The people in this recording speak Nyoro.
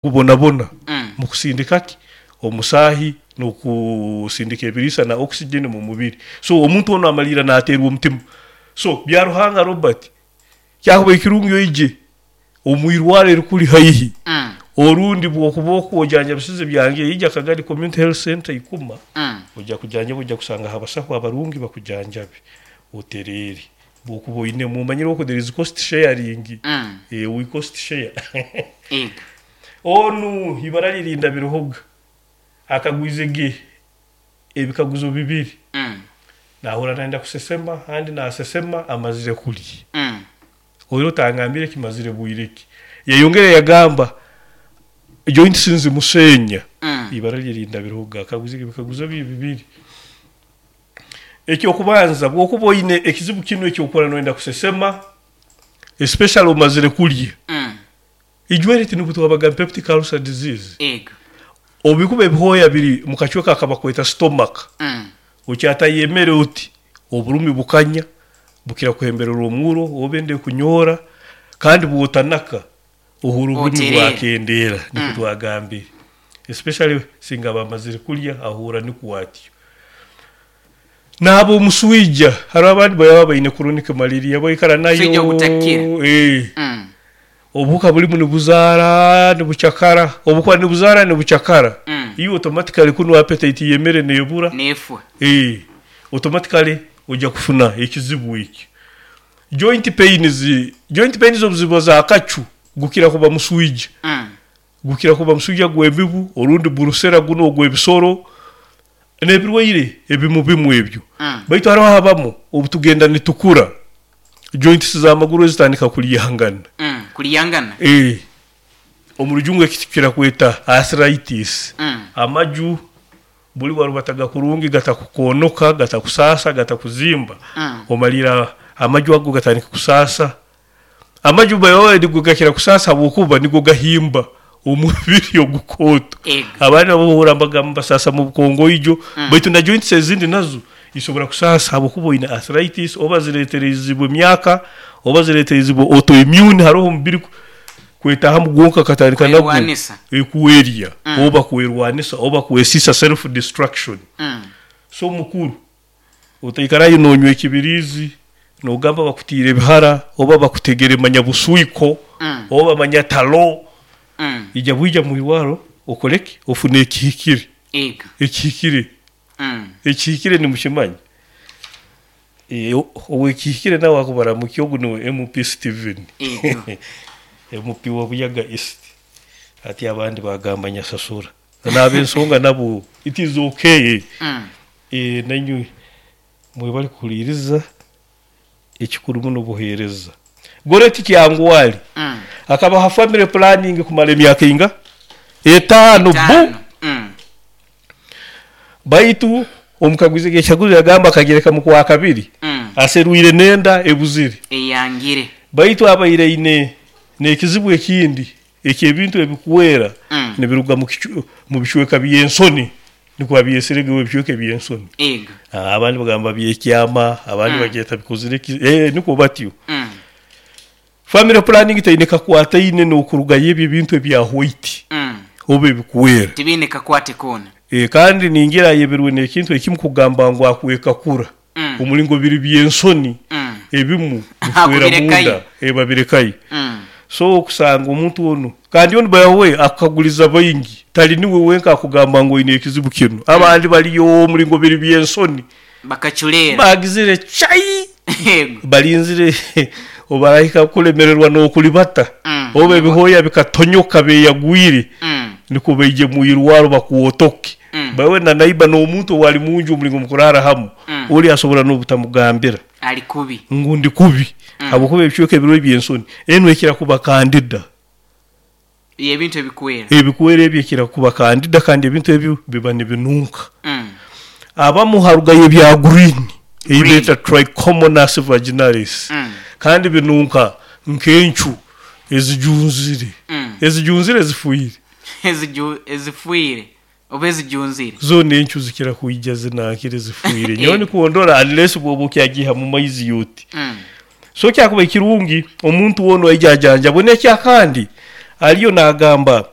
Gubonabona mu kusindika ki? Omusaahi n'okusindika ebiriisa na oxygen mu mubiri. So omuntu onu amaliira nateerwa omutima. So Byaruhanga Robert, kyakubaire kirungi oije omu irwaro erikuli haihi orundi bwokuba okwo ojanjabisize byange ija Kagadi Community Health Centre Ikuma oija kujanjabwa oija kusangaho abasaho abarungi bakujanjabe otereere. Bwokuba oinemu omanyire oku there is cost sharing, we cost share. Onu ibara lye Rindabiruhoga akagwize ge ebikaguzo bibiri, nahurra nayenda kusesema handi nasesema amazire kulya. Oira otangambire kimazire bwire ki? Yayongera yagamba joints nzimusenya. Ibara lye Rindabiruhoga akagwize ge ebikaguzo bye bibiri. Eky'okubanza, bw'okuba oine ekizibu kinu eky'okuhurra noyenda kusesema, especially omazire kulya, ijweri tinubwo twabagamba peptic ulcer disease, obu bikuba ebihooya biri mu kacweka akabakweta stomach, okyatayo emere oti, oburumi bukanya, bukira kuhembererwa omuro oba enda ekunyoora, kandi bw'otanaka ohurra oburumi bwakendeera, nikwo twagambire. Especially singa aba amazire kulya ahurra nikwo atyo. Naaba omuswija, hariho abandi baba baine chronic malaria baikara nayo, obuhuka burimu nibuzaara nibucakara, obukuba nibuzaara nibucakara, iwe automatically kunu appetite y'emere nebura, automatically oija kufuna ekizibu ekyo. Joint pains, joint pains obu ziba z'akacu gukira kuba muswija, gukira kuba muswija gw'emibu orundi burusera gunu ogw'ebisoro n'ebirwaire ebimu bimu ebyo. Baitu haroho abamu obu tugenda nitukura, joints z'amaguru ezitandika kuryangana. Kuryangana? Omu rujungu eki tukira kweta arthritis. Amaju Buri warubataga kurungi gatakukoonoka, gatakusaasa, gatakuzimba, omariire amaju ago gatandika kusaasa. Amaju by the way nigo gakira kusaasa habwokuba nigo gahimba omubiri ogukooto. Abandi nabo ohurra nibagamba nibasaasa mu bukongoijo baitu na joints ezindi nazo zisobora kusaasa habwokuba oine arthritis oba zireetereizibwe emyaka oba zireetereizibwe autoimmune haroho omubiri Kwetahamu gwonka akatandika nagwo Kwerwanisa. kwerya oba kwerwanisa oba kwesiisa, self destruction. So mukuru otaikarayo nonywa ekibiriizi nogamba bakutiire ebihara oba bakutegere manya buswiko oba manya talo, ija bwija mwirwaro okore ki? Ofune ekihikire. Ego. Ekihikire. Ekihikire nimukimanya? Ow'ekihikire nawe akubaramukia ogu niwe MP Steven. MP wa Buyaga East. Hati abandi bagamba nyasasura. N'ab'ensonga nabo it is okay. Nainywe mwebale kuhuliiriza, ekikuru muno buheereza. Goreti Kyangwali akabaha family planning kumara emyaka einga? Etaano bu! Baitu omukaguzi g'ekikaguzo yagamba akagireka mu Kwakabiri aserwire n'enda ebuzire. Eyangire. Baitu abaire aine n'ekizibu ekindi eky'ebintu ebikwera nibiruga mu bicweka by'ensoni, nukwo abyesere ge ebicweka eby'ensoni. Ego. Abandi bagamba by'ekyama, abandi bagyeta bikozire ki, nukwo batyo. Family planning teine kakwataine n'okurugayo ebyo ebintu ebya white oba ebikwera. Tibiine kakwate koona. Kandi ningira ayebirwe n'ekintu ekimu kugamba ngu akwekakura omuringo biri by'ensoni ebimu bifwera munda babirekayo. So okusanga omuntu onu kandi onu by the way akukaguriza baingi tari niwe wenka akugamba ngu oine ekizibu kinu abandi bariyo omuringo biri by'ensoni. Bakaculeera. Baagizire chai! Yego. Barinzire obarahika kulemererwa n'okuribata, oba ebihooya bikatonyoka beeyagwire, nikwo baije mu irwaro bakwotoke. By na naiba n'omuntu owari munju omuringo mukuraara hamu, ori asobora n'obutamugambira Ali kubi. ngu ndi kubi habwokuba ebicweka ebiriho eby'ensoni. Enu ekira kuba kandida. Y'ebintu ebikwera. Ebikwera ebyo ekira kuba kandida kandi ebintu ebyo biba nibinunka. Abamu harugayo ebya green ei beeta trichomonas vaginalis kandi binunka nk'encu ezijunzire. Ezijunzire zifwire. Ezifwire oba ezijunzire. Zoona encu zikira kwija zinankire zifwire. Nyowe nikwo ndora unless bwoba okyagiiha mu maizi oti. So kyakubaire kirungi omuntu woona aije ajanjabwe. N'ekyakandi ariyo naagamba.